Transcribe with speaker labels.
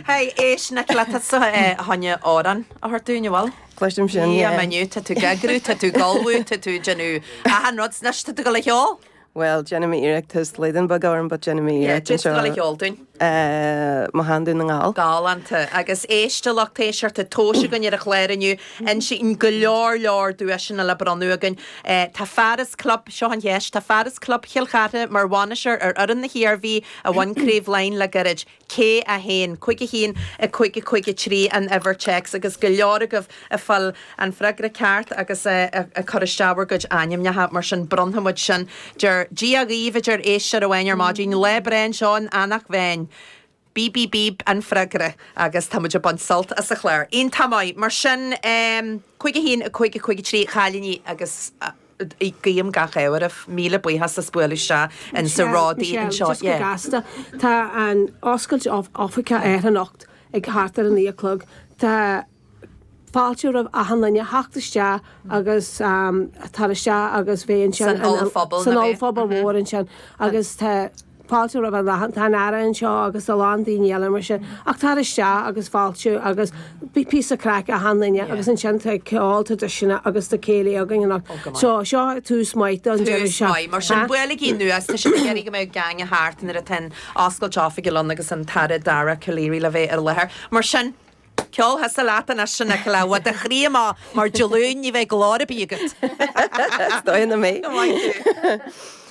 Speaker 1: Hey, éist Nicola, tá tú fá choinne amhrán a thabhairt dúinn, an bhfuil?
Speaker 2: Cloisim sin,
Speaker 1: yeah.
Speaker 2: Yeah,
Speaker 1: inniu, tá tú ag eagrú, tá tú ag ullmhú, tá tú ag déanamh achan rud, anois tá tú ag dul a cheol?
Speaker 2: Bhuel, déanfaidh mé iarracht, tá slaghdán beag orm but déanfaidh mé
Speaker 1: Yeah,
Speaker 2: iarracht
Speaker 1: tá tú ag dul a cheol dúinn.
Speaker 2: Mo Shean-Dún na nGall.
Speaker 1: Galánta. Agus éist a lucht éisteachta, tomhais againn ar an chlár inniu, insíonn go leor leor duaiseanna le bronnadh againn. Tá fear as club, seo an cheist, tá fear as Club Chill Chartha mar bhainisteoir ar fhoireann na hIarmhí a bhain Craobh Laighean le gairid. Cé é féin? 5 1 5 5 3 an uimhir téacs agus go leor agaibh ag fáil an freagra ceart agus ag cur isteach bhur gcuid ainmneacha mar sin bronnfaidh muid sin. Deir Dia dhaoibh a deir éisteoir amháin ar maidin, lá breá anseo in Eanach Mheáin. Bíb bíb bíb an freagra agus tá muid ag baint sult as an chlár. Iontach maith. Mar sin, 5 1 5 5 3 a chailíní agus. Guím gach ádh oraibh. Míle buíochas as bualadh isteach in sa Ródaí
Speaker 3: anseo.
Speaker 1: Michelle,
Speaker 3: just go gasta, tá an oscailt oifige ar anocht ag thart ar a 9 a chlog. Tá fáilte roimh achan duine theacht isteach agus tar isteach agus bheith ansin
Speaker 1: San ollphuball,
Speaker 3: san ollphuball mhór ansin agus tá Fáilte roimh an achan, tá an Aire anseo agus a lán daoine eile mar sin, ach tar isteach agus fáilte agus bí píosa craic achan duine agus ansin tá ceol traidisiúnta agus tá céilí againn anocht. So seo tús maith don deireadh
Speaker 1: Tús maith. Mar sin buailigí anuas, tá siad ag iarraidh go mbeadh gang thart nuair atá an oscailt oifige ann agus an tAire Dara Calleary le bheith ar láthair. Mar sin, ceol thusa leat anois a Nicola, bhfuil do chroí amach mar Dé Luain ní bheidh glór ar bith agat.
Speaker 2: Is dóigh na mé.
Speaker 1: Go maith thú.